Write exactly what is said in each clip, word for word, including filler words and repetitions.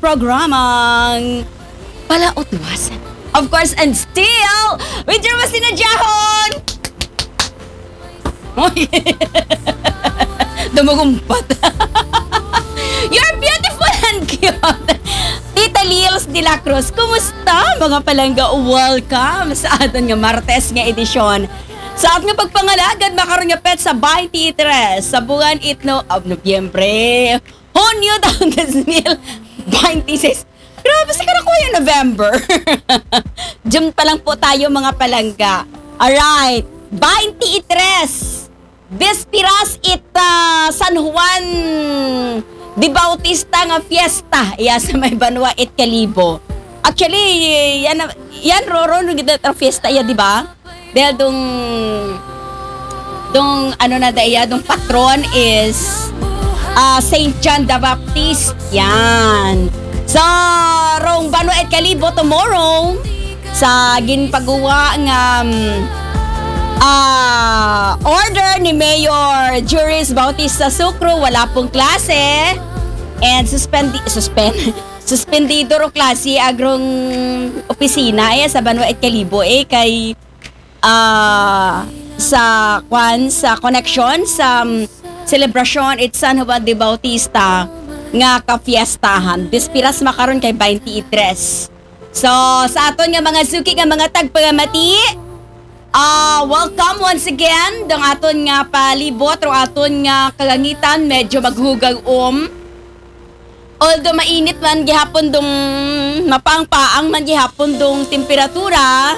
programang Palautwasan. Of course, and still, with your masinadyahon! Oy! Dumugumpat. You're beautiful and cute. Tita Lils de la Cruz, kumusta, mga palangga? Welcome sa aton nga Martes nga edisyon. Sa aton nga pagpangalagad, makaron nga petsa twenty-three sa buwan ito of Nobyembre. Hunyo taon dos mil twenty-six. Grabe, sa karakuha yung November. June pa lang po tayo, mga palangga. Alright. Twenty-three. Bispiras it ah, San Juan de Bautista nga fiesta. Iya sa may Banwa it Kalibo. Actually, yan, na- yan, Roro, nung gid fiesta, iya, di ba? Dahil dong, dong, ano na da iya, dong patron is ah Saint John the Baptist. Yan. So, rong Banwa it Kalibo tomorrow, sa ginpaguwa nga um, ah order ni Mayor Juris Bautista Sucro, wala pong klase. And suspendi, suspend, suspendido ro klase agrong opisina eh, sa Banwa it Kalibo eh, kay ah sa kwan, sa connection sa um, selebrasyon it San Juan de Bautista nga kafiestahan. Bispiras makaron kay twenty-three. So, sa aton nga mga suki nga mga tagpangamati, ah welcome once again dong aton nga palibot, rong aton nga kalangitan, medyo maghugaw-om. Although mainit man gihapon dong, mapaang-paang man gihapon dong temperatura,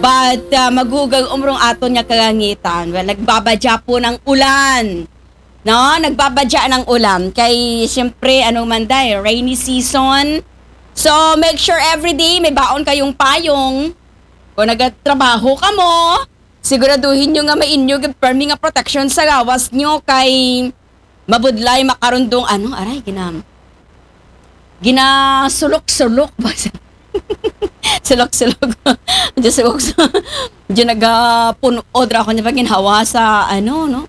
but ah, maghugaw-om rong aton nga kalangitan. Well, nagbabadya po ng ulan. No, nagbabadya ng ulan. Kay, siyempre, ano man day, rainy season. So, make sure every day may baon kayong payong. Kung nagtrabaho ka mo, siguraduhin nyo nga mainyo gid permi nga protection sa gawas nyo kay mabudlay makaron dong ano, aray, ginam. Ginasulok-sulok ba? Sulok-sulok. Diyos ko, medyo nagapunod ra ako niya pag ginhawa sa ano, no?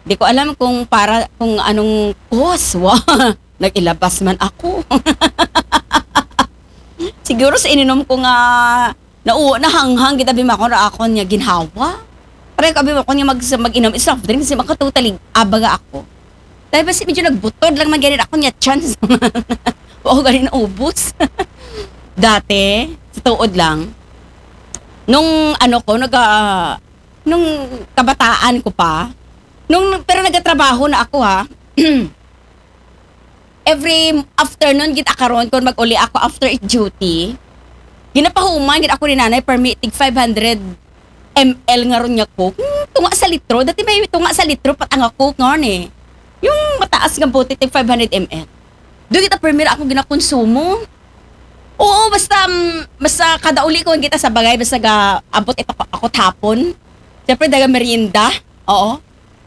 Di ko alam kung para, kung anong cause. Wa, nag-ilabas man ako. Siguro sa ininom ko nga, na, nahanghang kita bimakon ra akon nga ginhawa. Pareho ka bimakon nga mag, mag-inom is soft drink, kasi makatutalig abaga ako. Dahil basta medyo nagbutod lang man ganit ako niya chance. Wa ko ganit naubos. Dati, sa tuod lang, nung ano ko, naga, nung kabataan ko pa, nung, pero nagatrabaho na ako ha, every afternoon gid akaron kon mag-uli ako after duty, ginapahuman gid ako ni nanay permi tig five hundred M L nga ron nga Coke. Hmm, tunga sa litro. Dati may tunga sa litro pat ang Coke nga ron eh. Yung mataas nga bote tig five hundred M L. Doon kita permi ra ako ginakonsumo. Oo, basta, mm, basta kada uli ko kita sa bagay, basta ga abot ito ako, ako hapon. Siyempre, daga merienda. Oo.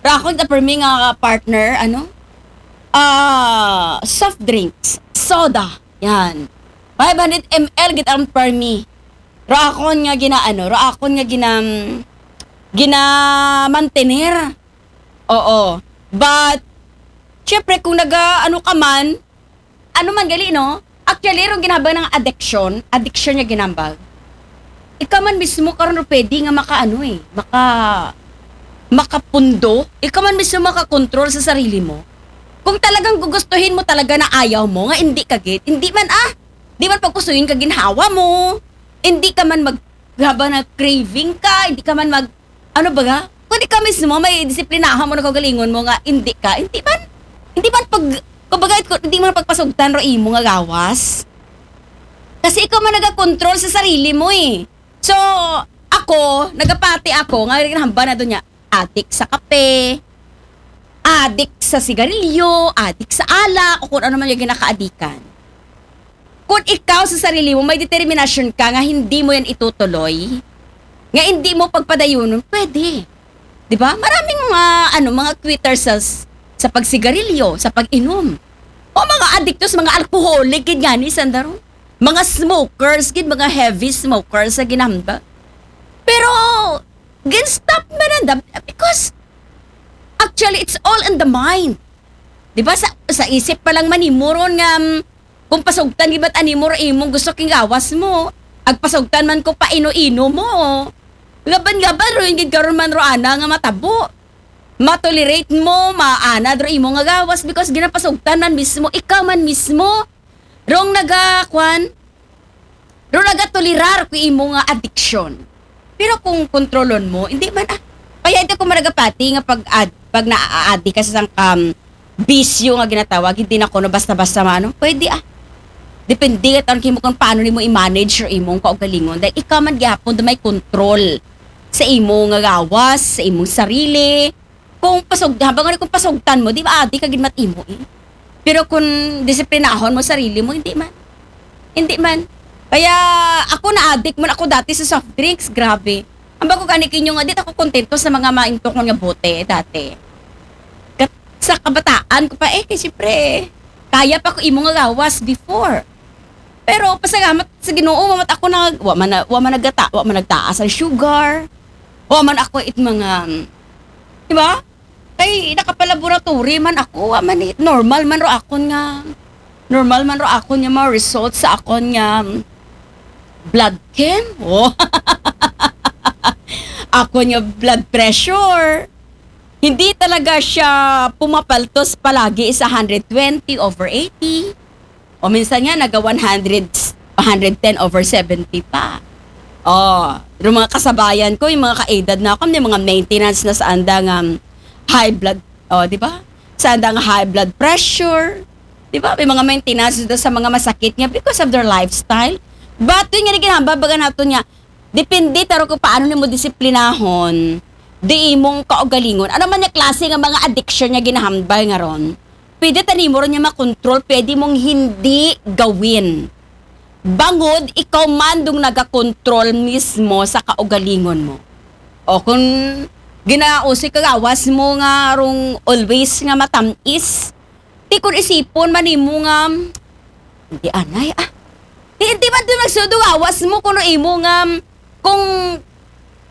Rakon ta permi nga partner, ano? Ah, soft drinks, soda. Yan. Five hundred M L gid ang permi. Rakon nga ginaano, rakon nga gina ginamantener. Oo. But syempre kung naga ano ka man, ano man gali, no? Actually, rong ginhambal nga addiction, addiction nga ginhambal. Ikaw man mismo karon ro pwede nga makaano eh, maka makapundo. Ikaw man mismo makakontrol sa sarili mo. Kung talagang gugustuhin mo talaga na ayaw mo, nga hindi ka gid, hindi man ah, di man pagpusuyin ka ginhawa mo. Hindi ka man mag habang na craving ka, hindi ka man mag ano ba ga? Kung ikaw mismo, may disiplinahan mo na kaugalingon mo nga hindi ka, hindi man, hindi man pag, kumbaga, it-, hindi man pagpasugtan ro imo nga gawas. Kasi ikaw man nagakontrol sa sarili mo eh. So, ako, nagapati ako, nga ginahambal na doon niya, adik sa kape, adik sa sigarilyo, adik sa alak, o kung ano man yung ginakaadikan. Kung ikaw sa sarili mo, may determinasyon ka nga hindi mo yan itutuloy, nga hindi mo pagpadayunon, pwede. Di ba? Maraming mga, ano, mga quitters sa, sa pagsigarilyo, sa pag-inom. O mga adiktos, mga alcoholic, gid nga ni Sandaro. Mga smokers, gid, mga heavy smokers sa ginamba. Pero, gin-stop man nanda because, actually, it's all in the mind. Di ba? Sa, sa isip pa lang manimuron nga, mm, Kung pasugtan gid man animo ro imong gusto kagawas mo, agpasugtan man ko pa ino-ino mo. Gaban-gaban ro gid karon man ro ana nga matabo. Matolerate mo, maanad ro imo nga gawas because ginapasugtan man mismo, ikaw man mismo. Rong naga, kwan, rong nagatolerar ko imo nga addiction. Pero kung kontrolon mo, hindi man ah. Kaya hindi ko managapati nga pag ad, pag naaadi ka sa isang um, bisyo nga ginatawag, hindi na kuno basta-basta maano. Pwede ah. Depende ka tanong mo kung paano nimo i-manage your imong kaugalingon. Dahil ikaw man gyapon may control sa imo nga gawas, sa imong sarili. Kung pasug, habang ano kung pasugtan mo, di ba adi ka gid mat imo eh. Pero kung disiplinahon mo sarili mo, hindi man. Hindi man. Kaya ako na-addict man ako dati sa soft drinks, grabe. Ang bago gani kinyo nga, di ako kontento sa mga maintokon nga bote dati. Kat, sa kabataan ko pa eh, kasi siyempre, kaya pa ko imo nga gawas before. Pero pasalamat sa Ginoo, wa man ako nag, wa man, na- wa man nagata, wa man nagtaas ang sugar. Wa man ako it mga, di ba? Kay nakapalaboratory man ako, wa man it normal man ro akon nga, normal man ro akon nga mga results sa akon nga blood chem. Oh. Akon nga blood pressure. Hindi talaga siya pumapaltos palagi sa one hundred twenty over eighty. O minsan nga, naga one hundred, one hundred ten over seventy pa. Oh, yung mga kasabayan ko, yung mga kaedad na ako, may mga maintenance na sa andang um, high blood, oh, di ba? Sa andang high blood pressure, di ba? May mga maintenance na sa mga masakit nga because of their lifestyle. But yun nga, ginahamba, baga nato niya, depende taro kung paano nimo disiplinahon di imong kaugalingon. Ano man yung klase nga mga addiction nga ginahambal nga ron? Pwede ta nimo ron niya makontrol, pwede mong hindi gawin. Bangod ikaw man dong nagakontrol mismo sa kaugalingon mo. O kung ginausi ka gawas mo nga rong always nga matamis, di kung isipon man nimo nga, hindi anay ah. Di, hindi man doon nagsundo gawas mo kung imo nga, kung,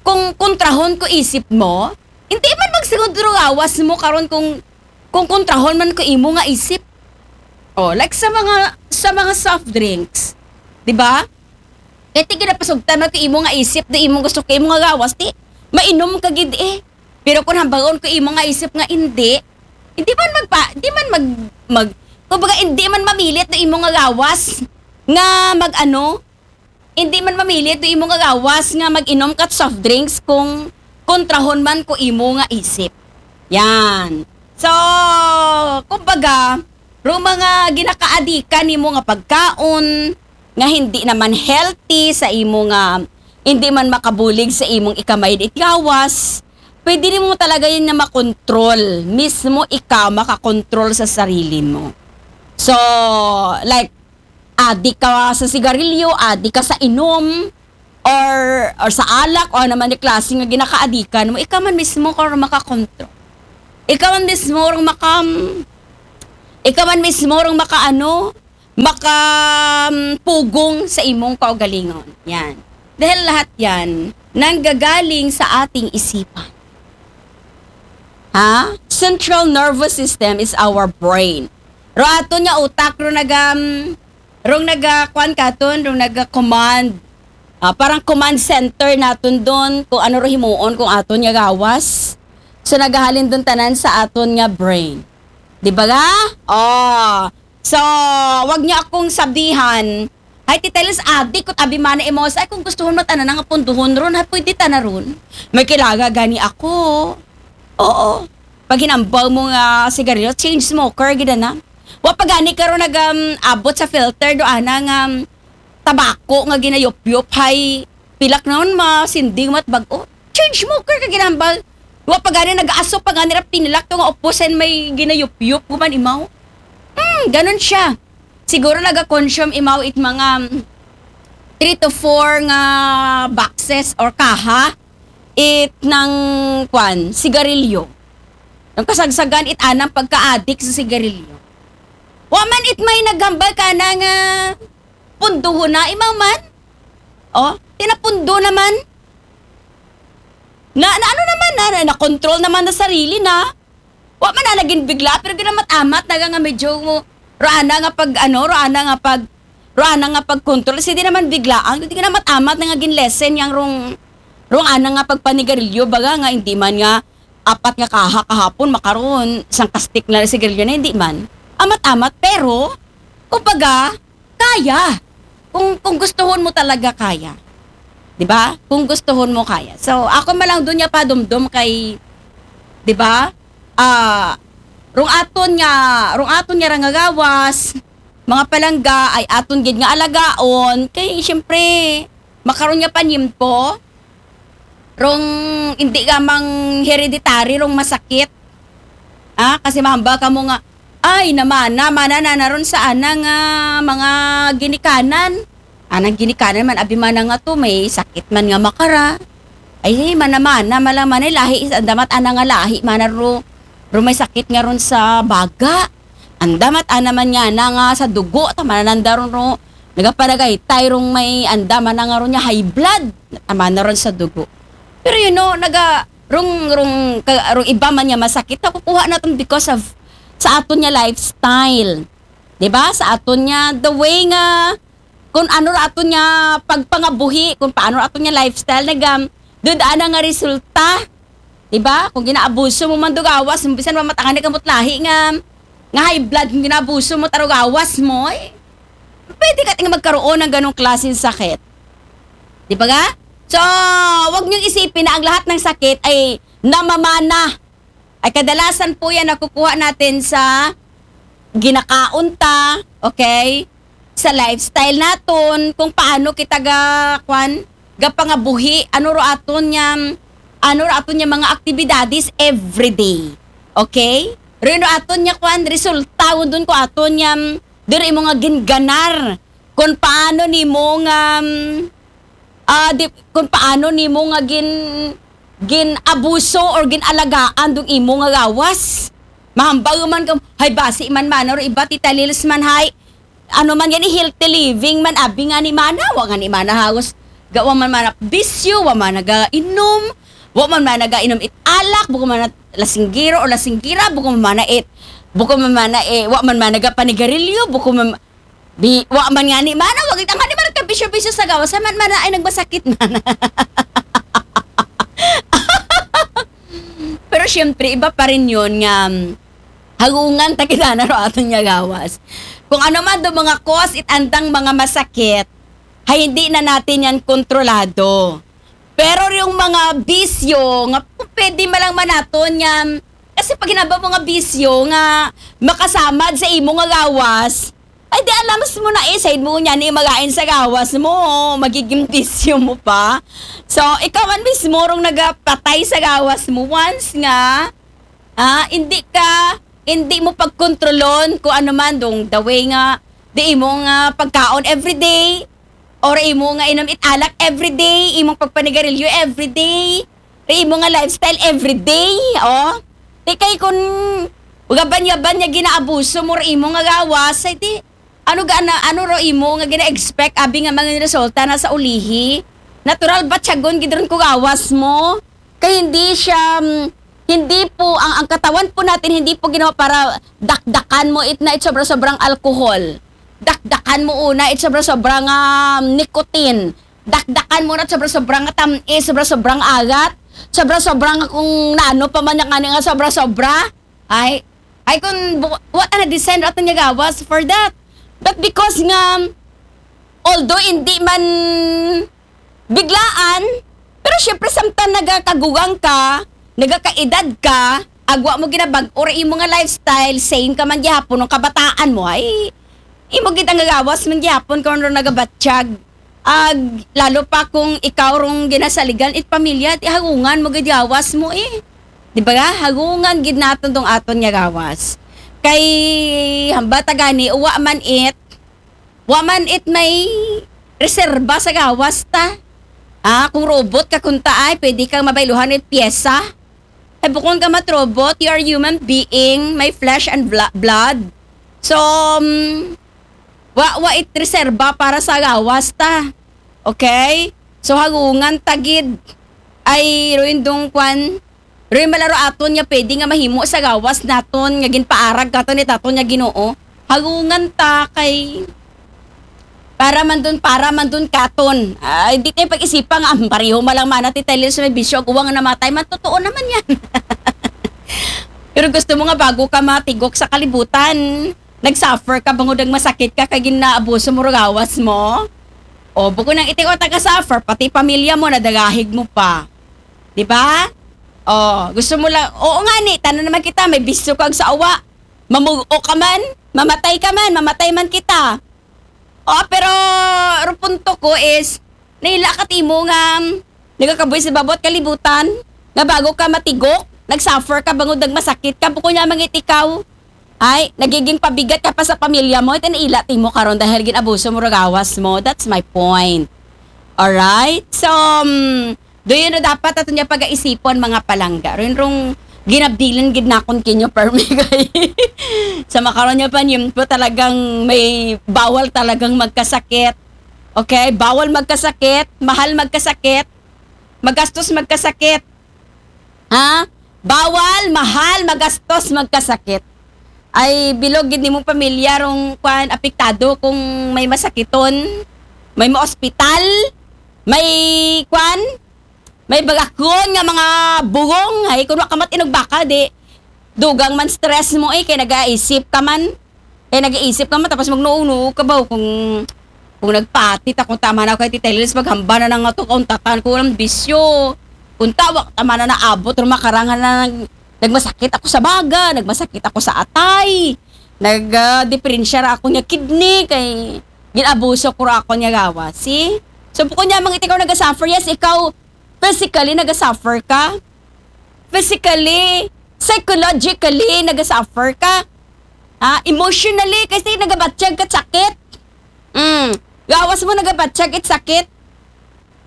kung kontrahon ko isip mo, hindi man magsundo gawas mo karon kung kung kontrahon man ko imo nga isip. Oh, like sa mga sa mga soft drinks, di ba? Kaya ti ginapasugtan man ko imo nga isip, di imo gusto ko imo nga gawas, ti mainom ka gid eh. Pero kung hambagon ko imo nga isip nga hindi, hindi man magpa, di man mag, mag, kumbaga hindi man mamilit na imo nga gawas nga mag ano, hindi man mamilit do imo nga gawas nga mag-inom ka soft drinks kung kontrahon man ko imo nga isip. Yan. So, kumbaga, ro mga ginakaadikan nimo nga pagkaon nga hindi naman healthy sa imo nga hindi man makabulig sa imong ikamay it gawas, pwede nimo talaga yun na makontrol. Mismo ikaw makakontrol sa sarili mo. So, like, adik ka sa sigarilyo, adik ka sa inom, or, or sa alak, o naman yung klase nga ginakaadikan mo, ikaw man mismo kung makakontrol. Ikaw man mismo rong maka, ikaw man mismo rong makaano, makapugong sa imong kaugalingon. Yan. Dahil lahat yan, nanggagaling sa ating isipan. Ha? Central nervous system is our brain. Ro ato nga utak, ro nagam, rong naga, kwan katon, rong naga command. Ah, parang command center naton doon kung ano ro himuon kung aton nga gawas. So, nagahalin doon tanan sa aton nga brain. Di ba ga? Oh. So, wag niyo akong sabihan, "Ay, Tita Liz, adik ko, abi mana imo." Ay, kung gusto mo, tana na nga punduhon ron, ha, pwede tana ron. May kailangan gani ako. Oo. Pag hinambaw mo nga sigarilyo, change smoker, gid na. Wa pa gani karon nag, um, abot sa filter, do ana nga, um, tabako nga ginayupyop, hay, pilak naman, masinding, mat bago. Change smoker ka ginambal. Wa pa gani nag-aso pa gani ra pinilak to nga upusan may ginayupyop, guman imaw. Hmm, ganun siya. Siguro naga-consume imaw it mga, um, three to four nga boxes or kaha it ng, kwan, sigarilyo. Ang kasagsagan it anang pagka-addict sa sigarilyo. Wa man it may naghambal ka na nga punduhon na, imaw man. Oh, tinapundo naman. Na, na ano naman na, na, na-control naman na sarili na. Wa man na naging bigla, pero ginamat-amat na nga medyo mo, Ro ana nga pag, ano, ro ana nga pag, ro ana nga pagkontrol. Kasi di naman biglaan. Di ka na amat-amat na nga gin-lessen yang rong, rong ana nga pagpanigarilyo. Baga nga, hindi man nga apat nga kaha kahapon, makaron, isang kastik na sigarilyo na, hindi man. Amat-amat, pero, kumbaga, kaya. Kung, kung gustuhon mo talaga, kaya. Di ba? Kung gustuhon mo, kaya. So, ako man lang doon niya padumdum kay, di ba? Ah, rong aton nga, rong aton nga ra nga gawas, mga palangga, ay aton gid nga alagaon, kay, siyempre, makaron nga panyimpo, rong hindi ka mang hereditary, rong masakit. Ah, kasi mahambal ka mo nga, ay, namana, mana na naron sa ana nga mga ginikanan. Anang ginikanan man, abi mana nga to, may sakit man nga makara. Ay, mana, mana, mala, mana, lahi, sa damat ana nga lahi, mana ro, ro may sakit nga ron sa baga. Ang damat ana man nga na nga sa dugo, tama na nanda ron ro. Nagapanagaytay rong may anda man na nga ron niya high blood. Tama na ron sa dugo. Pero you know, naga, rong, rong, ka, rong iba man niya masakit, nakukuha natin because of sa aton niya lifestyle. Di ba? Sa aton niya, the way nga, kung ano ra aton niya pagpangabuhi, kung paano ra aton niya lifestyle, nagam, doon ana nga resulta. Di ba? Kung ginaabuso mo man do gawas, bisan wa matangan ka mo't lahi nga, nga high blood, kung ginaabuso mo taro gawas mo, eh, pwede ka ting magkaroon ng ganong klaseng sakit. Di ba nga? So, wag niyong isipin na ang lahat ng sakit ay namamana. Ay kadalasan po yan nakukuha natin sa ginakaon ta, okay? Sa lifestyle naton, kung paano kita ga, kwan, gapangabuhi, ano ro aton niya, ano ro aton niya mga aktibidades everyday. Okay? Ro ro aton niya, kwan, resulta, undon ko aton niya, diri mo nga ginganar. Kung paano nimo nga, ah, di, kung paano nimo nga gin, gin-abuso or gin-alagaan dong imo nga gawas. Mahambal man ka, hay, basi man, mana, ro iba, Tita Lils man, hay, ano man yan, healthy living man, abi nga ni mana, wa nga ni mana halos, ga, wa man mana bisyo, wa man nagainom, wa man mana nagainom it alak, buko man mana lasinggiro o lasinggira, buko man mana it, buko man mana, eh, wa man mana nagapanigarilyo, buko man, bi, wa man nga ni mana, wag itang nga ni mana kabisyo-bisyo sa gawas, sa man mana ay nagmasakit man. Pero syempre, iba pa rin yun nga, mm, hagungan ta kita na ro aton nga gawas. Kung ano man do mga cause it andang mga masakit, hay hindi na natin yan kontrolado. Pero yung mga bisyo, nga pwede malang manaton yan, kasi pag hinaba mo nga bisyo nga makasamad sa imo nga gawas, ay di alam mo na eh, side mo niya ni magain sa gawas mo, magiging bisyo mo pa. So, ikaw man mismo rong nagapatay sa gawas mo once nga, ah, hindi ka, hindi mo pagkontrolon kung ano man, dong the way nga, di imo nga pagkaon everyday, or imo nga inom it alak everyday, imong pagpanigarilyo everyday, ri imo nga lifestyle everyday, oh. Di kay kun gaban-yaban niya ginaabuso mo ri imo nga gawas, ay di, ano ga na, ano ro imo nga gina-expect, abi nga mga resulta na sa ulihi? Natural ba tiyagon gid ron ko gawas mo? Kay hindi siya, mm, hindi po, ang, ang katawan po natin hindi po ginawa para dakdakan mo it na it sobra-sobrang alcohol. Dakdakan mo una it sobra-sobrang, um, nicotine. Dakdakan mo na sobra-sobrang tamis, sobra-sobrang agat, sobra-sobrang kung naano pa man nga nga sobra-sobra. Ay, ay kung bu-, what na design aton nga gawas for that. But because nga, although hindi man biglaan, pero syempre samtang nagakagugang ka, nagakaedad ka, agwa mo ginabag-o ra imo nga lifestyle, same ka man gihapon ng kabataan mo, ay, imo gid ang gawas man gihapon kung ano nagabatyag. Ag, lalo pa kung ikaw rong ginasaligan it pamilya, ti hagungan mo gid gawas mo eh. Di ba? Hagungan gid naton tong aton nga gawas. Kay hambal ta gani, uwa man it, wa man it may reserba sa gawas ta. Ah, kung robot ka kunta ay, pwede kang mabayluhan it pyesa. Ay, bukon ka mat robot, you are human being, may flesh and bla-, blood. So, um, wa, wa it reserba para sa gawas ta. Okay? So, hagungan ta gid. Ay, ruin dong kwan, ruin malaro aton nga pwede nga mahimo sa gawas naton, nga ginpaarag katon it aton nga Ginoo. Hagungan ta kay para man dun, para man dun katon. Ay, di tayo pag-isipan nga, "Ah, pareho man lang mana ti Tyler sa may bisyo, ag uwang namatay man." Totoo naman yan. Pero gusto mo nga bago ka matigok sa kalibutan, nag-suffer ka, bangod ang masakit ka, kay ginaabuso mo ro gawas mo. O, bukod ng iti ko taga-suffer, pati pamilya mo, nadagahig mo pa. Di ba? O, gusto mo lang, oo nga ni, tanan naman kita, may bisyo kag sa awa. Mamugo ka man, mamatay ka man, mamatay man kita. O, pero, ro punto ko is, naila ka timo nga, nagakabuhi sa babot kalibutan, nga bago ka matigok, nag-suffer ka, bangod nagmasakit ka, bukod niya mangit ikaw. Ay, nagiging pabigat ka pa sa pamilya mo, ito naila timo karon dahil ginabuso mo ro gawas mo. That's my point. Alright? So, um, do you know, dapat ato niya pag-aisipon, mga palangga. Rin rong ginabilin gid nakon kinyo, permi kay sa makaron niya pa niyo po talagang may bawal talagang magkasakit. Okay? Bawal magkasakit, mahal magkasakit, magastos magkasakit. Ha? Bawal, mahal, magastos magkasakit. Ay, bilog gid nimong pamilya rong kwan, apektado kung may masakiton, may ma-ospital, may kwan, may bagakon nga mga bugong, ay, kung wa ka matinog baka, di, dugang man stress mo eh, kay nagaisip ka man. Kay nagaisip ka man, tapos magnuog-nuog ka ba, kung, kung nagpatit ako, tama na ako kay Tita Lilis, maghamba na nga to, kauntatan ko, walang bisyo. Kung tawag, tama na naabot, ro makarangan na nag-, nagmasakit ako sa baga, nagmasakit ako sa atay, nag, ah, diferensya ra ako niya kidney, kay ginabuso ko ra ako niya gawa. See? So, bukod niya, mang ikaw nagasuffer, yes, ikaw, physically, nagasuffer ka. Physically, psychologically, nagasuffer ka. Ah, emotionally, kasi nagabatyag ka sakit. Mm. Gawas mo, nagabatyag it sakit.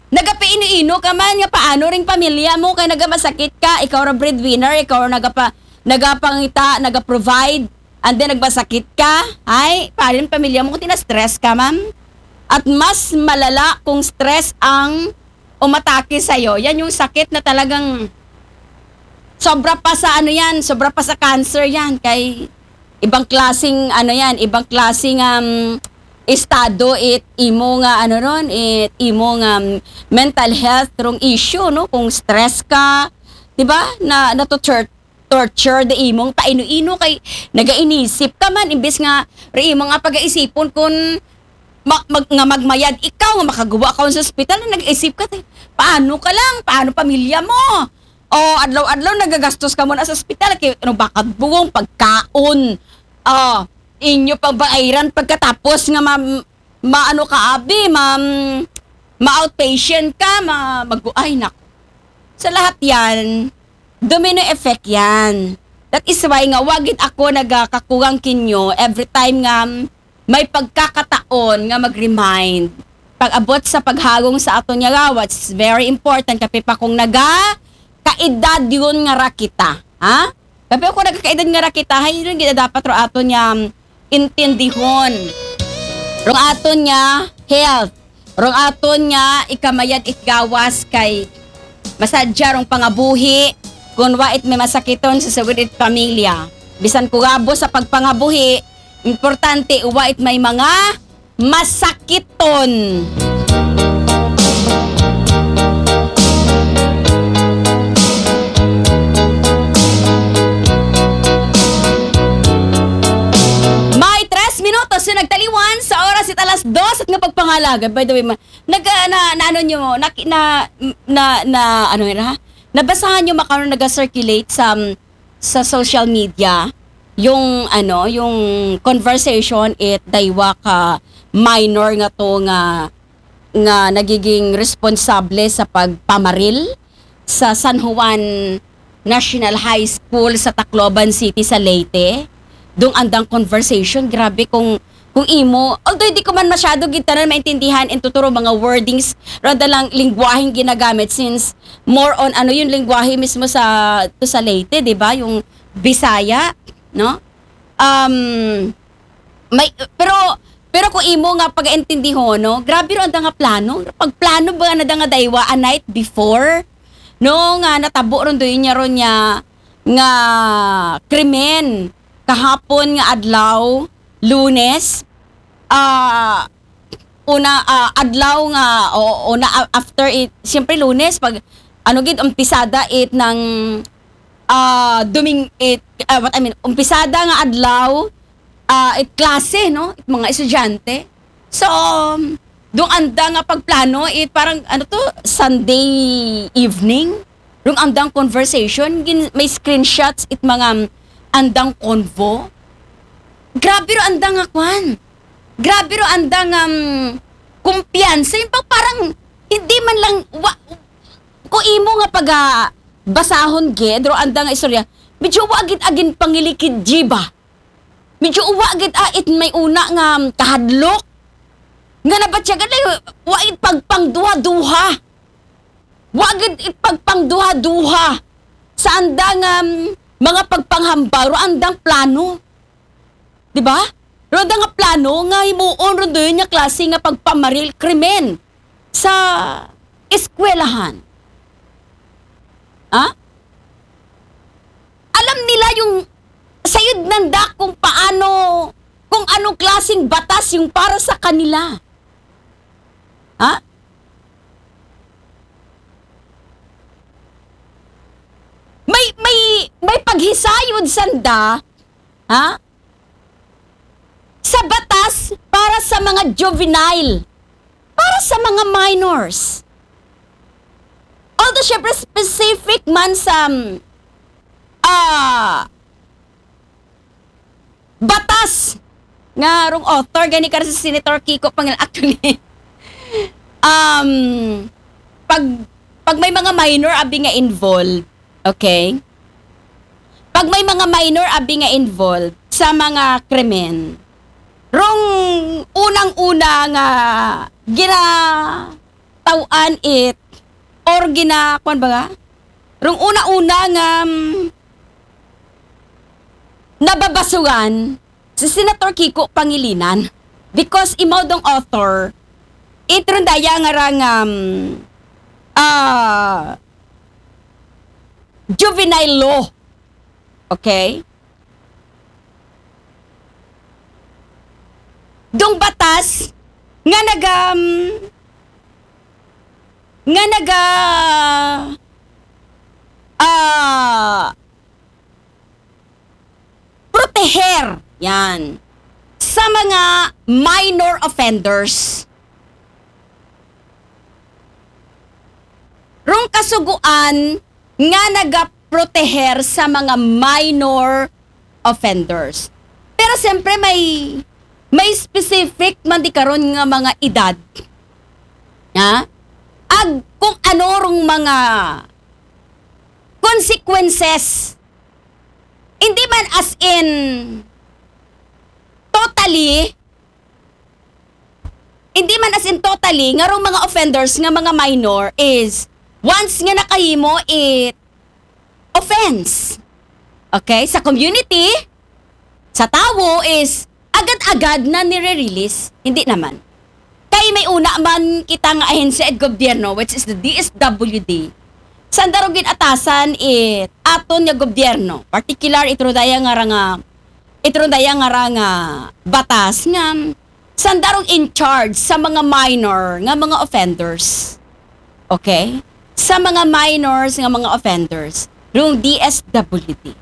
Nagapaino-ino ka man, nga paano ring pamilya mo, kay nagamasakit ka, ikaw ra breadwinner, ikaw ra nagapa-, nagapangita, nagaprovide, and then nagmasakit ka. Ay, paano yung pamilya mo kung tina-stress ka, ma'am? At mas malala kung stress ang umatake sa'yo. Yan yung sakit na talagang sobra pa sa ano yan, sobra pa sa cancer yan. Kay ibang klaseng ano yan, ibang klaseng, um, estado it imo nga ano ron, it imo nga, um, mental health rong issue, no? Kung stress ka, 'di ba? Na, na torture, torture the imong paino-ino kay nagainisip ka man, imbes nga re imo nga pagaisipon kun ma-, mag-, nga magmayad ikaw, nga makaguwa ka sa ospital, na nag-isip ka, te, paano ka lang? Paano pamilya mo? O, adlaw-adlaw nagagastos ka muna sa ospital, kay ano, bakad bugong, pagkaon. O, inyo pang bayaran pagkatapos nga ma-, maano ka, abi, ma-, ma-outpatient ka, ma-, mag-, ay, naku. Sa lahat yan, domino effect yan. That is why nga, wagid ako nagakakugang kinyo every time nga may pagkakataon nga mag-remind. Pag-abot sa paghagong sa aton nga gawas, it's very important. Kape pa kung naga kaedad yun nga ra kita. Ha? Kape kung nagakaedad nga ra kita, hay yun gid dapat ro aton nga intindihon. Rong aton nga health. Rong aton nga ikamayad it gawas kay masadya rong pangabuhi kun wa it may masakiton sa sugod it pamilya. Bisan kurabo sa pagpangabuhi, importante wa it may mga masakiton. May tres minutos na nagtaliwan sa oras it alas dos at nga pagpangalaga. By the way, ma-, nag-, ah, na, na ano nyo, na, na, na, na, ano yun, ha? Nabasahan nyo makaroon nag-circulate sa, sa social media yung, ano, yung conversation it daywa ka minor nga to nga, nga nagiging responsable sa pagpamaril sa San Juan National High School sa Tacloban City sa Leyte. Dung andang conversation, grabe kung, kung imo, although di ko man masyado gid tanan maintindihan and tuturo mga wordings, rada lang lingwaheng ginagamit since more on ano yung lingwahe mismo sa, to sa Leyte, di ba? Yung Bisaya, no? Um, may, pero, pero kung imo nga pagaintindihon, no? Grabe ro anda nga plano. Pagplano ba na da nga daywa a night before? No, nga natabo ron doon niya ron niya nga krimen kahapon nga adlaw. Lunes, ah, una, ah, adlaw nga, o, una, a-, after it, siyempre Lunes, pag, ano gid, umpisada it ng, ah, Doming-, it, ah, what I mean, umpisada nga adlaw, ah, it klase, no? It mga estudyante. So, um, dung anda nga pagplano, it parang, ano to, Sunday evening? Rung andang conversation, gin-, may screenshots it mga, um, andang convo. Grabe ro andang nga kwan. Grabe ro andang, um, kumpiyansa. Yung pag parang, hindi man lang, wa, kung imo nga pag, ah, basahon gid, ro andang nga istorya, medyo wa gid agin pangilikid, di ba? Medyo wa gid, ah, it may una nga, um, kahadlok. Nga nabatyagan na yung, wa it pagpangduha-duha. Wa gid it pagpangduha-duha. Sa andang, um, mga pagpanghambal, ro andang plano. Di ba? Ro andang nga plano nga himuon ro doon nga klase nga pagpamaril krimen sa eskwelahan. Ha? Alam nila yung sayod nanda kung paano, kung anong klaseng batas yung para sa kanila. Ha? May, may, may paghisayod sanda, ha? Sa batas para sa mga juvenile, para sa mga minors. Although, syempre, specific man sa, ah, batas nga rong author, gani ka si Senator Kiko Pangil-, actually, um, pag, pag may mga minor abi nga involved, okay? Pag may mga minor abi nga involved sa mga krimen, rong unang-una nga ginataw-an it, or gina-, kwan ba nga? Rong una-una nga, mm, nababasugan si Senator Kiko Pangilinan, because imaw dong author, it rondaya nga rang, um, ah, juvenile law. Okay? Dong batas nga naga, um, nga naga, ah, proteher, yan, sa mga minor offenders. Rong kasuguan nga nagaproteher sa mga minor offenders. Pero siyempre may, may specific man di karon nga mga edad. Ha? Ag kung ano rong mga consequences. Hindi man as in totally, hindi man as in totally, nga rong mga offenders nga mga minor is once nga nakahimo it offense. Okay? Sa community, sa tawo is agad-agad na nire-release. Hindi naman. Kay may una man kita nga ahensya ed gobyerno, which is the D S W D. Sanda ro gin-atasan it aton nga gobyerno, particular it rondaya nga ranga, it rondaya nga ranga batas nga sanda rong in charge sa mga minor nga mga offenders. Okay? Sa mga minors nga mga offenders, rong D S W D.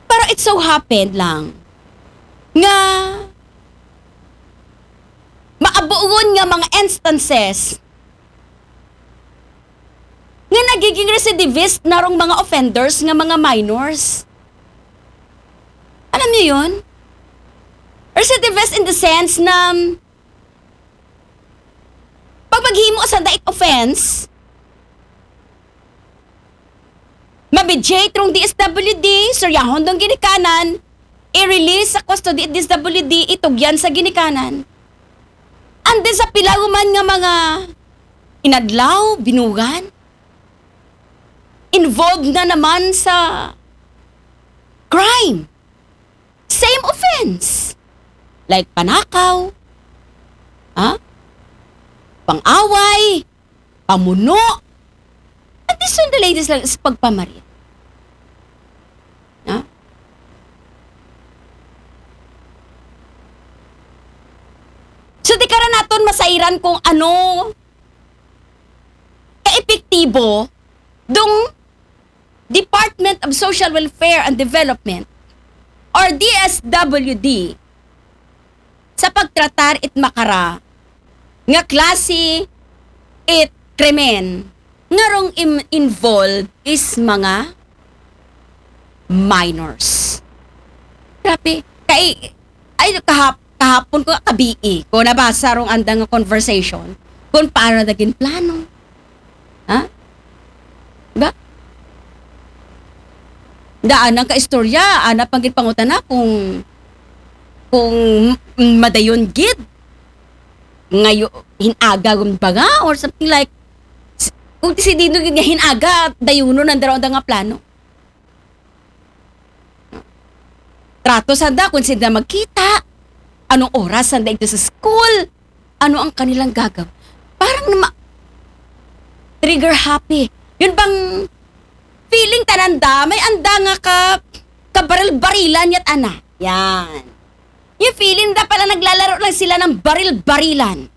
Pero it so happened lang nga maabuon nga mga instances nga nagiging recidivist na rong mga offenders nga mga minors. Alam niyo yun? Recidivist in the sense na pag maghimo sanda it offense, ma-mediate rong D S W D, suryahon dong ginikanan, i-release sa custody it D S W D, itugyan sa ginikanan. And then sa pila man nga mga inadlaw, binugan, involved na naman sa crime. Same offense. Like panakaw, ha? Pang-away, pamuno. And this one, the latest lang is pagpamaril. Ha? ka naton masayran kung ano kaepektibo dong Department of Social Welfare and Development or D S W D sa pagtratar it makara nga klase it krimen nga rong im-, involved is mga minors. Grabe. Kay, ay, kahap-, kahapon ko, kabii ko, nabasa rong andang nga conversation kung paano naging plano. Ha? Ba? Daan ang kaistorya, ana pang gid pangutana kung, kung madayon gid. Ngayo, hinaga gun ba nga? Or something like, s-, kung si Dino gid nga hinaga, dayunon ang daraw nga plano. Trato sanda kung sanda magkita, anong oras sanda ito sa school, ano ang kanilang gagaw. Parang nama-, trigger happy. Yun bang feeling tananda, may anda nga ka, kabaril-barilan yat ana. Yan. Yung feeling da pala naglalaro lang sila ng baril-barilan.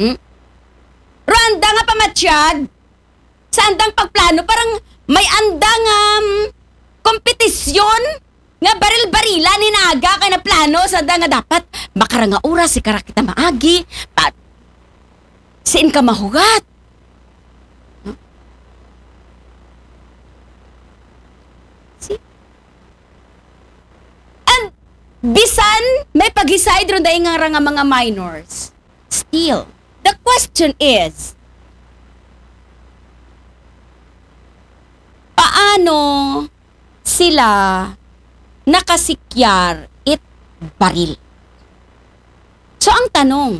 Hmm? Ro anda nga pamatyag, sa andang pagplano, parang may andang, um, kompetisyon nga baril-barilan hinaga kay naplano sa anda nga dapat makaranga oras, si kara kita maagi, pa, siin ka mahugat. Si, and bisan may pag-decide ron dahil nga ra nga mga minors, still, the question is, paano sila nakasikyar it baril? So, ang tanong,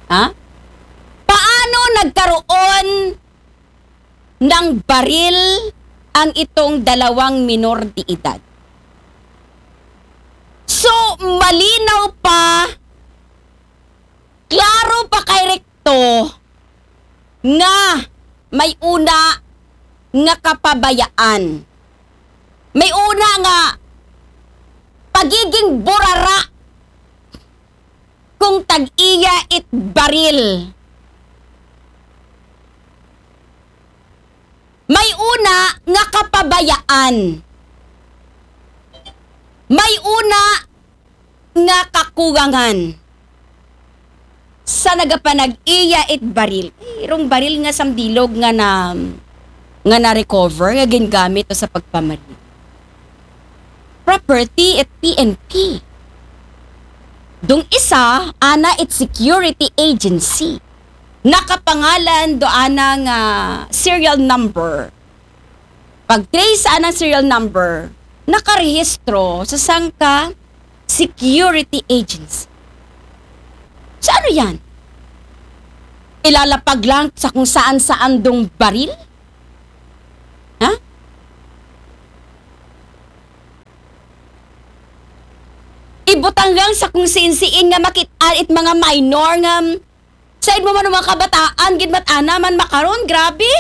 ha? Paano nagkaroon ng baril ang itong dalawang minor de edad? So, malinaw pa, klaro pa kay Recto nga may una nga kapabayaan. May una nga pagiging burara kung tag-iya it baril. May una nga kapabayaan. May una nga kakugangan sa nagapanag-iya it baril. Ay, rong baril nga sambilog nga na, nga na-recover, nga gingamit to sa pagpamaril. Property it P N P. Dong isa, ana it security agency. Nakapangalan do ana nga serial number. Pag-trace sa anang serial number, nakarehistro sa sangka security agency. So, ano yan? Ilalapag lang sa kung saan-saan dong baril? Ha? Ibutang lang sa kung siin-siin nga makit-an it mga minor nga, mm, said mo man ang mga kabataan, gid mat-ana man makaron, grabe.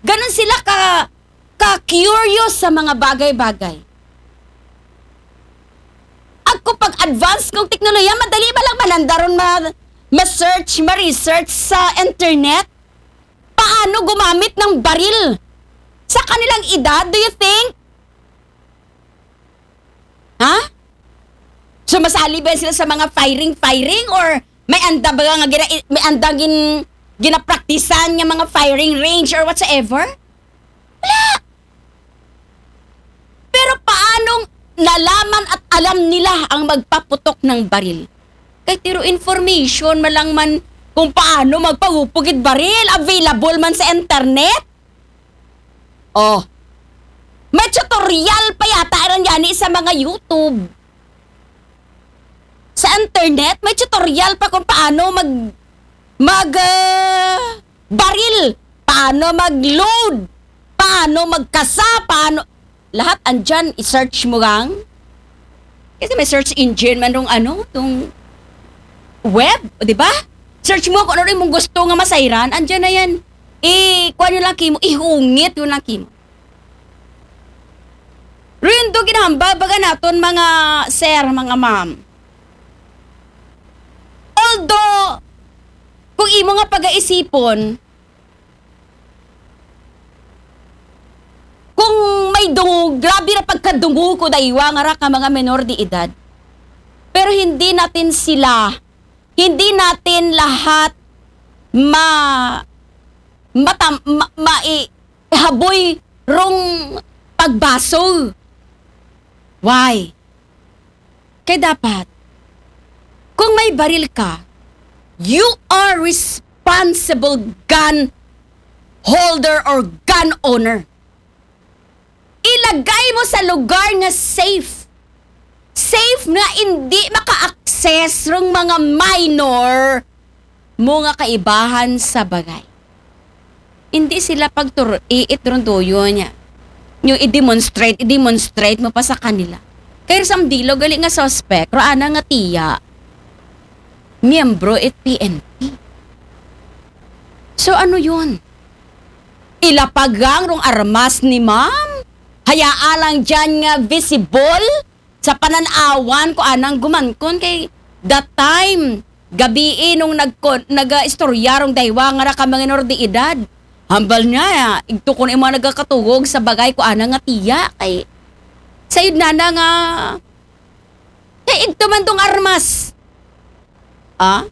Ganun sila ka, ka-curious sa mga bagay-bagay. At kung pag-advance kong teknolohiya, madali ba lang manandaron ma-, ma-search, ma-research sa internet? Paano gumamit ng baril? Sa kanilang edad, do you think? Ha? So, masali ba sila sa mga firing-firing? Or may anda ba nga gina-, may andang gin-, ginapraktisan nga mga firing range or whatsoever? Wala! Pero paanong nalaman at alam nila ang magpaputok ng baril? Kay tiro information, malangman kung paano magpahupog it baril. Available man sa internet. Oh. May tutorial pa yata rin yani sa mga YouTube. Sa internet, may tutorial pa kung paano mag-, mag-, ah, baril. Paano mag-load. Paano magkasa. Paano, lahat andyan, i-search mo lang. Kasi may search engine man rong ano, tong web, di ba? Search mo kung ano yung mong gusto nga masayran, andyan na yan. I-, kuha nyo lang kimo, ihungit nyo lang kimo. Rin do ginahambal baga naton mga sir, mga ma'am. Although, kung imo nga pagaisipon, kung may dungo, grabe na pagkadungo ko daywa nga ra ka mga menor de edad. Pero hindi natin sila, hindi natin lahat ma, matam, ma, ma, i, haboy rong pagbaso. Why? Kaya dapat, kung may baril ka, you are responsible gun holder or gun owner. Ilagay mo sa lugar nga safe. Safe nga hindi maka-access rong mga minor mo nga kaibahan sa bagay. Hindi sila pagtur-, iit ron tuyo niya. Yung i-demonstrate, i-demonstrate mo pa sa kanila. Kaya sa dilo gali nga suspect, raana nga tiya, miyembro it P N P. So ano yun? Ilapagang rong armas ni ma'am? Hayaa lang dyan nga visible sa pananawan ko anang gumankon kay that time, gabii nung nagkon, naga-istorya rong daywa nga ra ka mga minor de edad. Hambal niya, igtukon imo nagakatugog sa bagay ko anang nga tiya kay sayod na na nga kay igto man tong armas. Ah?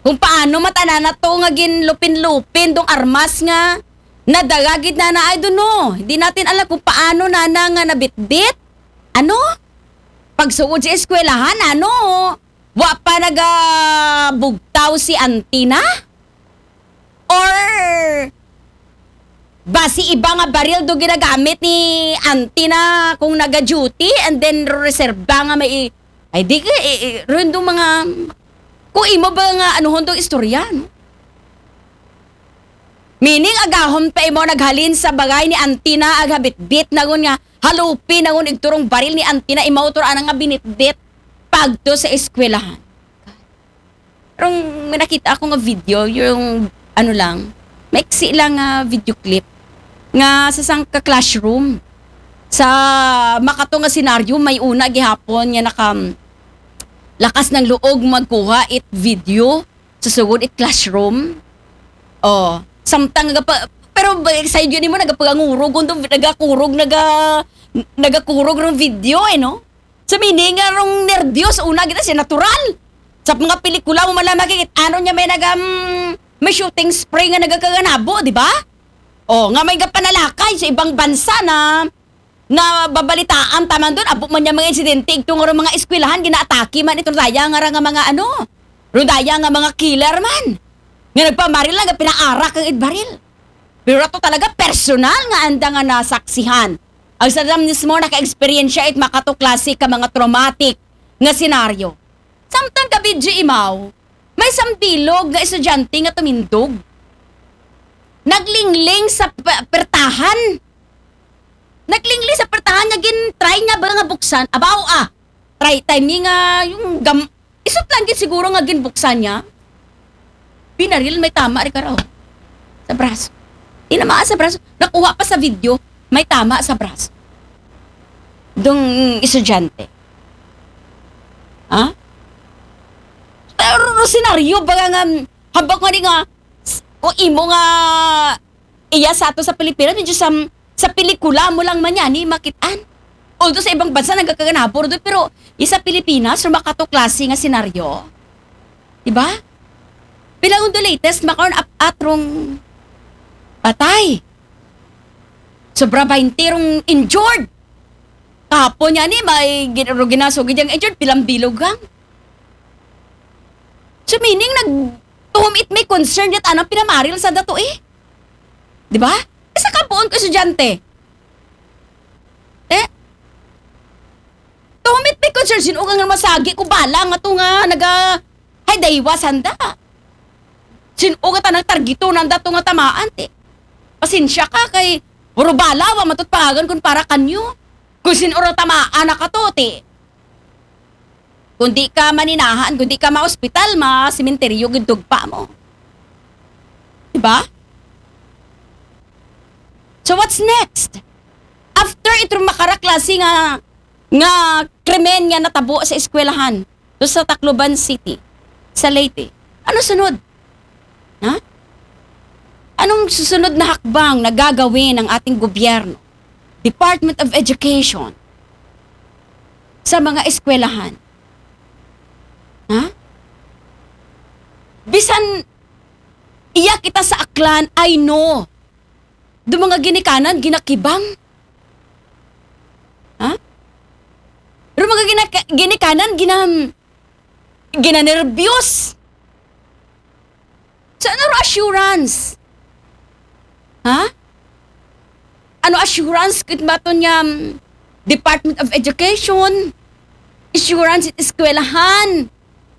Kung paano matanana to nga ginlupin-lupin tong armas nga nadagagit na na, I don't know. Hindi natin alam kung paano na na nga nabitbit. Ano? Pagsugod sa eskwelahan, ano? Wa pa nagabugtaw si auntie na? Or basi iba nga baril do ginagamit ni auntie na kung naga-duty and then reserba nga may i-, ay di ka, i, i, rin do mga, kung imo ba nga anuhon tong istorya, no? Meaning, agahon pa imo naghalin sa bagay ni auntie na, aghabitbit na gun nga, halupi na gun igturong baril ni auntie na, imo to ra anang nga binitbit pagto sa eskwelahan. Pero may nakita ako nga video, yung ano lang, maiksi lang nga video clip nga sa sangka classroom sa makato nga senaryo, may una gihapon nga naka lakas ng loob magkuha it video sa sugod it classroom. Oh, samtang nga pa, pero ba, sa yun mo nagapangurog, kundo nagakurog, naga, nagakurog ng video eh, no? Sa meaning nga rong nervyos, una kita siya natural. Sa mga pelikula mo man lang makikita, ano niya may nagam, may shooting spray nga nagakaganabo, di ba? Oh, nga may gapanalakay sa ibang bansa na na babalitaan taman doon, abo man niya mga insidente, igto nga mga eskwelahan, ginaatake man itong daya nga ra nga mga ano, rudaya nga mga killer man. Nga nagpamaril lang, nga pinaarak ang idbaril. Pero ato talaga personal nga anda nga nasaksihan. Ang sadam mismo naka-experience siya it makato klase ka mga traumatic nga senaryo. Samtang gabi di imaw, may sambilog nga estudyante nga tumindog. Naglingling sa p-, pertahan. Naglingling sa pertahan nga gin-try niya ba nga buksan. Abaw ah. Try time ni nga yung gam-, isot lang gid siguro nga ginbuksan niya. Binaril may tama ri karaw. Sa braso. Tinamaan sa braso. Nakuha pa sa video, may tama sa braso. Dong estudyante. Ha? Pero senaryo ba nga, habak nga di nga, s-, o imo nga, iya sa ato sa Pilipinas, medyo sa, sa pelikula mo lang man yan, eh, makitaan. Although sa ibang bansa, nagkakaganapor doon, pero isa Pilipinas, rumakato klase nga senaryo. Diba? Pila undo latest, makaon ap-, atrong patay. Sobra baynte rong injured. Kahapon niya ni, may gin-, ro-, ginasugid yang injured, pilang bilog ang. So meaning, nag, to whom it may concern, yat anang pinamaril sa dato eh. Di ba? Isa ka buon ko estudyante. Eh? To whom it may concern, sino ka nga masagi ko bala nga to nga naga, hay, daywa sanda. Sino ka tanang targito nanda to nga tamaan, te? Pasensya ka kay, puro bala, wa matut pangagan kung para kanyo. Kung sino ra tamaan na ka to, te. Kung di ka maninahan, kung di ka ma-hospital, ma-sementeryo, gintugpa mo. Diba? So what's next? After Ito makaraklase nga, nga krimen nga natabo sa eskwelahan. Doon sa Tacloban City, sa Leyte. Ano sunod? Ha? Anong susunod na hakbang na gagawin ng ating gobyerno, Department of Education, sa mga eskwelahan? Ha? Bisan iya kita sa Aklan, I know. Do mga ginikanan, ginakibang. Ha? Do mga ginaka- ginikanan, gina- ginanerbyos. So, ano assurance? Ha? Ano assurance kit baton nga, mm, Department of Education? Assurance it eskwelahan?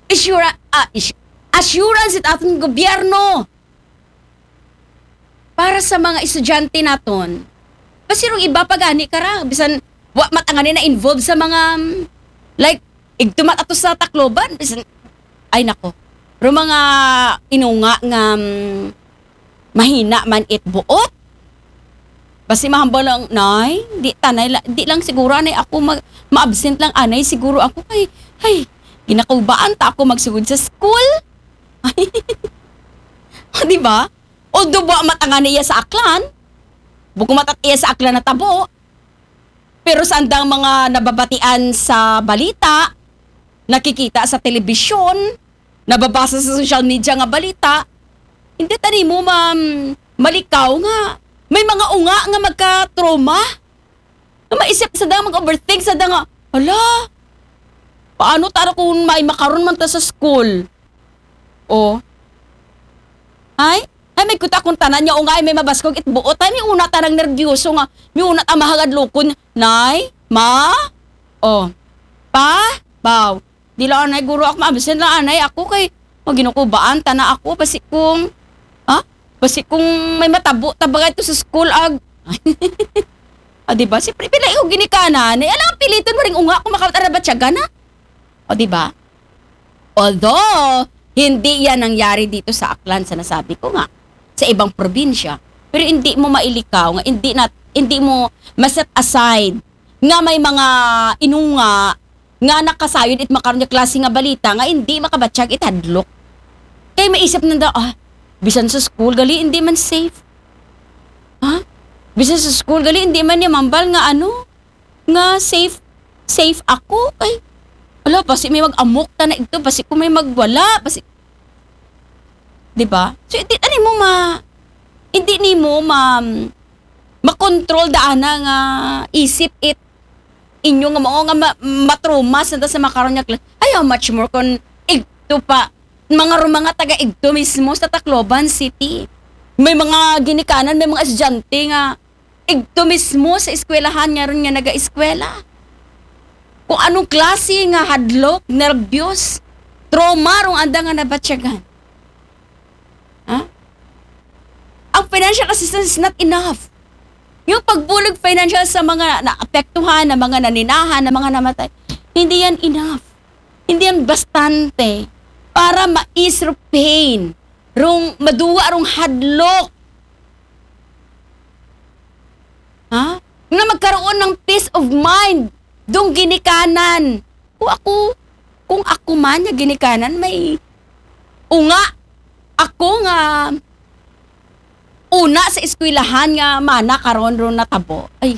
Assura- ah, is- assurance it aton gobyerno para sa mga estudyante naton? Basi rong iba pa gani kara, bisan wa matangani na involved sa mga, mm, like, igtumat ato sa Tacloban, bisan, ay nako. Pero mga inunga nga, mm, mahina man it buot. Basi mahambal lang, "Nay, di tanay la- di lang siguro anay ako mag- ma-absent lang anay siguro ako kay, ay, ginakubaan ta ako magsugod sa school." Ay. O, di ba? Although wa matangani iya sa Aklan, buko matat iya sa Aklan natabo, pero sa andang mga nababatian sa balita, nakikita sa telebisyon, nababasa sa social media nga balita, hindi tani mo ma- malikaw nga may mga unga nga magka-trauma. Nga maisip sa dang mag-overthink sa dang nga, "Hala, paano tara kung may makaron man ta sa school?" O. Ay? Ay, may kuta kung tanan niya, o nga, ay, may mabaskog it buot. Ay, may una tanang nervyoso nga. May una ta mahagad lukon. Nay? Ma? O. Pa? Baw. Di lang, anay, guro ako, ma-absent lang, anay, ako kay, maginukubaan, tana ako, basi kung, ha? Basi kung may matabo, tabaga ito sa school, ag. O, di ba? Siyempre, pila yung ginikanan. Eh, alam, piliton mo rin unga kung makawat arabat siya, gana. O, di ba? Although, hindi yan nangyari dito sa Aklan, sa nasabi ko nga, sa ibang probinsya. Pero hindi mo mailikaw nga, hindi na, hindi mo ma-set aside nga may mga inunga nga nakasayod it makaron nga klase nga balita nga hindi makabatyag it hadlok. Kay maisip nanda, ah, bisan sa school, gali, hindi man safe. Ha? Bisan sa school, gali, hindi man niya mambal nga ano, nga safe, safe ako. Ay, ala, basi may mag-amok ta na ito, basi ko may magwala, basi, di ba? So, hindi, ano mo ma, hindi nimo ma, makontrol daana nga isip it inyo nga mao nga ma- matruma sa sa makaron nga kla- ay, how much more kon igto pa mga rumanga taga igto mismo sa Tacloban City. May mga ginikanan, may mga estudyante nga igto mismo sa eskwelahan nga ron nga naga-eskwela. Kung anong klase nga hadlok, nerbyos, trauma rong anda nga nabatyagan. Ha? Ang financial assistance is not enough. Yung pagbulig financial sa mga naapektuhan, na mga naninahan, na mga namatay, hindi yan enough. Hindi yan bastante para ma-ease rong pain, rong maduwa, rong hadlok. Ha? Nga magkaroon ng peace of mind dong ginikanan. Kung ako, kung ako man nga ginikanan, may unga ako nga una sa eskwelahan nga mana karon ron natabo. Ay,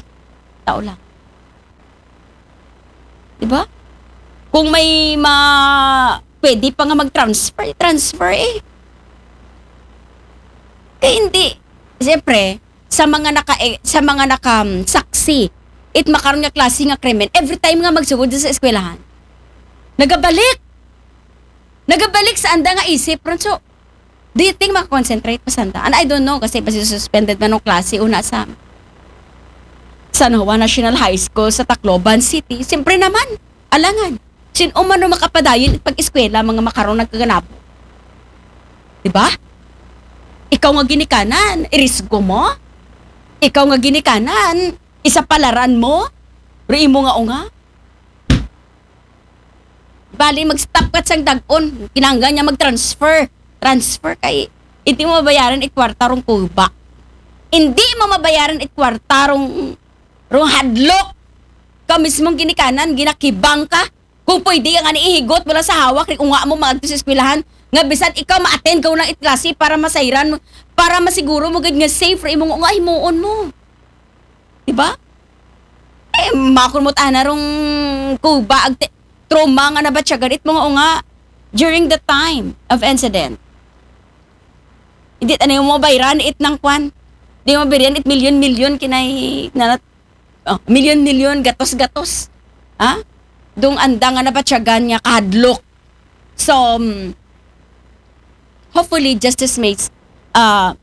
tao lang. Di ba? Kung may ma pwede pa nga mag-transfer, transfer eh. Kaya hindi, siyempre, sa mga naka eh, sa mga naka um, saksi it makaron nga klase nga krimen, every time nga magsugod sa eskwelahan, nagabalik. Nagabalik sa anda nga isip ron. So, do you think makakonsentrate pa sanda? And I don't know kasi basi suspended man ng klase una sa San Juan National High School sa Tacloban City. Siyempre naman, alangan. Sin-o man ang makapadayon pag-eskwela, mga makaron nagkaganabo. Di ba? Ikaw nga ginikanan, irisgo mo? Ikaw nga ginikanan, isa palaran mo? Pero imo nga unga? Bali, mag-stop ka sang dagon. Kinangga niya mag-transfer. Transfer kay, hindi mo mabayaran it kwarta rong kuba. Hindi mo mabayaran it kwarta rong Rong hadlok ka mismong ginikanan, ginakibang ka. Kung pwede nga ni ihigot mo lang sa hawak, ri unga mo maadto sa eskwelahan, nga bisan ikaw ma-attend ka lang it klase para masayran mo, para masiguro mo gid nga safe ra imong unga, himuon mo. Di ba? Eh, makon mo tana rong kuba ag te-, trauma nga nabatyagan it mga unga during the time of incident. Hindi, ano yung mabayran it nang kwan? Di mabayran it milyon-milyon kinay, nanat-, oh, milyon-milyon, gatos-gatos. Ha? Dong anda nga nabatyagan nga kahadlok. So, um, hopefully, justice makes, uh,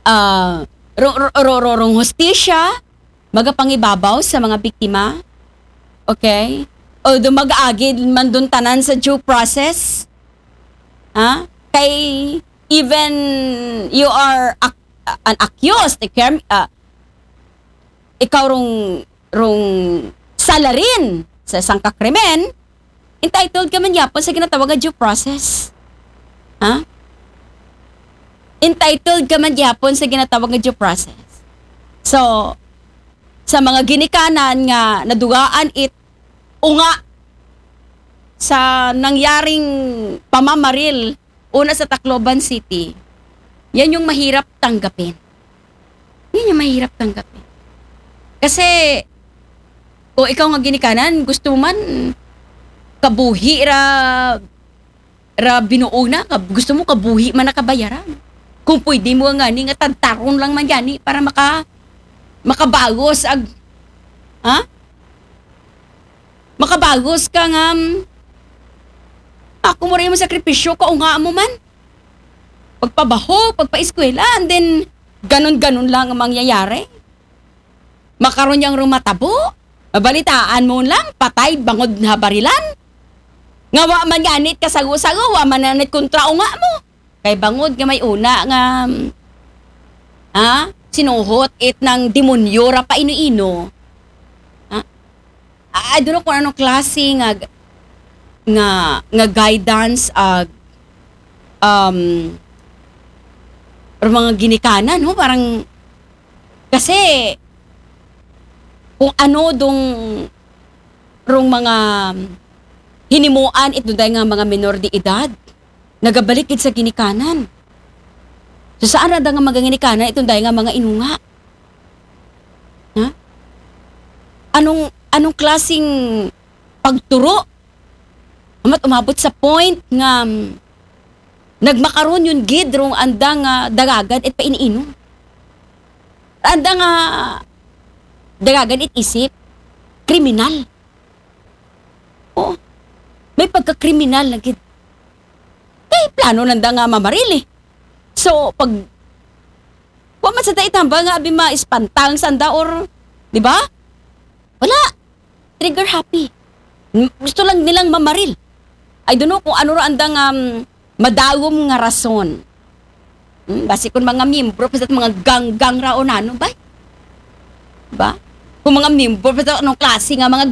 uh, ro-, ro-, ro-, ro-, rong hustisya, magapangibabaw sa mga biktima. Okay? Although mag-aagid man dun tanan sa due process, ha? Kay even you are ac-, an accused, the crim-, ah, ikaw rong, rong salarin sa isang kakrimen, entitled ka man gyapon sa ginatawag nga due process. Ha? Entitled ka man gyapon sa ginatawag nga due process. So, sa mga ginikanan nga nadugaan it unga sa nangyaring pamamaril una sa Tacloban City, yan yung mahirap tanggapin. Yan yung mahirap tanggapin. Kasi, o ikaw nga ginikanan, gusto mo man kabuhi ra, ra binuo na, ka-, gusto mo kabuhi man na kabayaran. Kung pwede mo nga ni nga tantaron lang man yani para maka-, makabagos ag, ha? Makabagos ka nga, mm, ako mo rin mo sakripisyo, kaunga mo man. Pagpabaho, pagpaeskwela, and then, ganun-ganun lang ang mangyayari. Makaron yang rumatabo, mabalitaan mo lang, patay, bangod na barilan. Nga wa man ganit kasago-sago, wa man nanit kontra unga mo. Kay bangod nga may una nga, ha? Sinuhot it ng demonyo ra pa ino-ino. Ha? I don't know kung anong klase nga, nga, nga guidance, ah, um, or mga ginikanan, no? Parang, kasi, kung ano dong, rong mga hinimuan, ito dahil nga mga minor de edad, nagabalik gid sa ginikanan. So, saan ra da nga mga ginikanan, itong dahil nga mga inunga? Ha? Anong, anong klaseng pagturo? Amat umabot sa point nga, mm, nagmakaron yun gid rong andang, ah, dagagan it painiinom. Andang, ah, dagagan it isip, kriminal. Oh, may pagka-kriminal na gid. Kay plano nanda nga mamaril eh. So, pag, wa man sa da itambal nga abi ma-espantang sanda or, di ba? Wala. Trigger happy. M-, gusto lang nilang mamaril. I don't know kung ano ra andang, um, madawom nga rason. Hmm, basi kung mga miyembro, basta mga gang-gang ra o nano ba? Ba? Kung mga miyembro, basta anong klase nga mga